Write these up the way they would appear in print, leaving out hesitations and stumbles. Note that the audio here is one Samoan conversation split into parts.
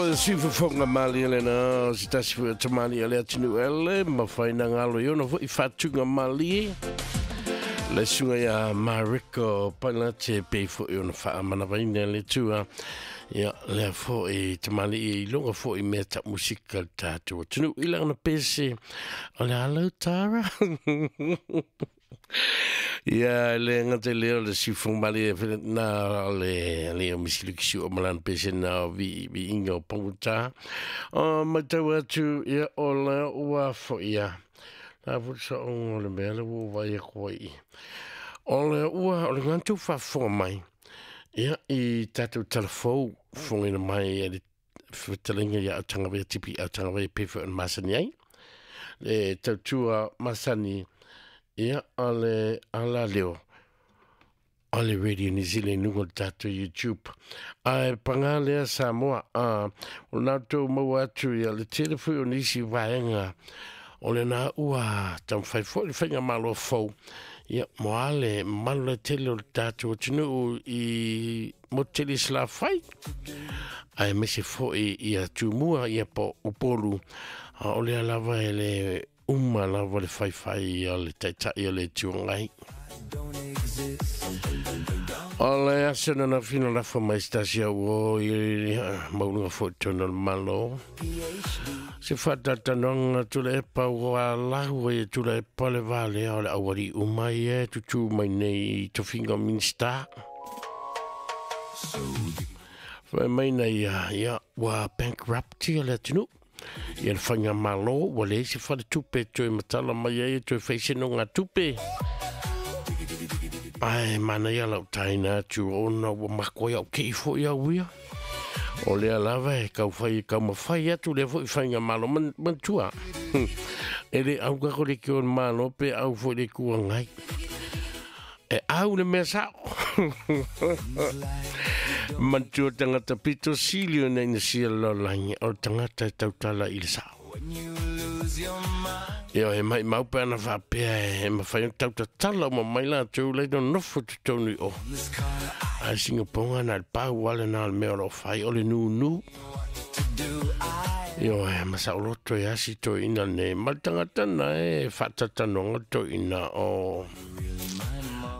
O le siufofoga malie lena o se tasi foi o tamalii a le atunuu ele mafai na galo i ona foi faatuga malie. Le susuga ia Mariko Pailate pei foi ona faamanavaina le Atua. Ia, lea foi tamalii i luga foi mea tau musika le tatou atunuu i lana pese o le alau tara. Ia, le gata i lea o le siufofoga malie na o le alii o Misi Lukisi o malana pese na o vi viiga o pagota. O matau atu, ia, o lea ua foi ia. La foi sa o le mea le ua vai aku ai. O le ua, o le ngantu faafofoga mai. Ia, i tatou talafou, fofogaina mai e le fetalaiga ia Autagavaia Tipi Autagavaia pe foi o le masani ai. Le tautua masani, ia, o le ala leo, o le Radio New Zealand luga o le tatou YouTube. Ae pagā lea Samoa, a, o lena outou maua atu ia le tele foi o nisi vaega o lena ua taumafai foi le faigamalo fou, ia, mo a le mamalu lautele o le tatou atunuu i motu tele i Salafai, aemaise foi ia Tumua, ia po Upolu, a o lea lava e le uma lava le faifai a le Taitai o le Itu Agai. O le aso na ananafi na lafo mai se tasi au o i mauluga foi tonu o le Malo. Se faatalatanoaga Tuilaepa ua lahu ai e Tuilaepa le va lea o le aualii uma ia e tutū mai nei i tofiga o Minisita. Fai mai na ia, ia, ua bankrupt ia le atunuu. Ia le faigamalo ua leai se faletupe e toe matala mai ai e toe fai se nogatupe. Ae manaia lau taina atu ona ua makoe au kei foi au ia. O lea lava e kau fai e kau mawhai atu lea foi faigamalo manatua. E le au kako le ki o le malo pe au foi le kua ngai. E au le mea sao. Manatua tangata pito sili o nei na sia lolangi o le tangata e tautala i le sao. Ia e mai mau pe ana faapea e mawhai o tautatala o mamai latou lai no nofo totonu i o. Ai singaponga na le pau ale na le mea o lo fai o le nunu. Io e masaoloto e asi to ina ne ma le tangata na e whaatatanoanga to ina o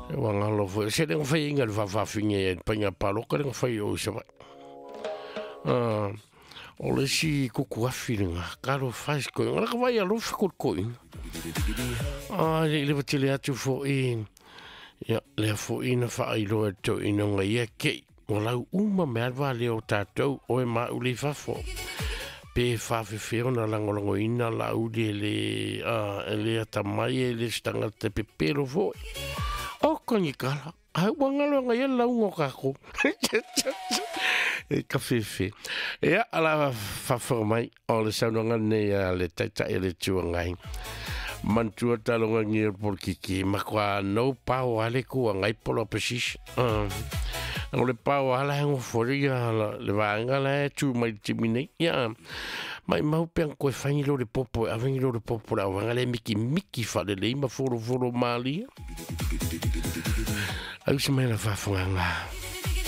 e wangalo foi. Se lenga whai inga le whawhawhinge e painga paloka lenga whai o isa vai. O le si kuku afi lenga, karo whais koe. Ngala ka vai alofa ko koe. Le le tele atu fo i, ia, lea fo i na whaailoa to ina nga ia kei. O lau uma me alwa leo tātou o e ma uli fafo. Pe whawhewheo na langolango ina la uli e le, e le atamai e le stanga te pepero fo. O kongi kala. Ai wangalo nga ia laungo kako. E ka whewhe. Ia, ala whawhao mai o le saunoanga nei a le taitai e le tuangai. Mantua talonga ngi o polokiki, ma kua no pao ale kua ngai polo opposition. O le pao ala hengo fori ia le vaanga la e tu mai timi nei. Ia, mai mau peang koe whangi lo le popo, a whangi lo le popo la wanga le miki miki whale le ima foro foro malia. Au se mai la whawhanganga.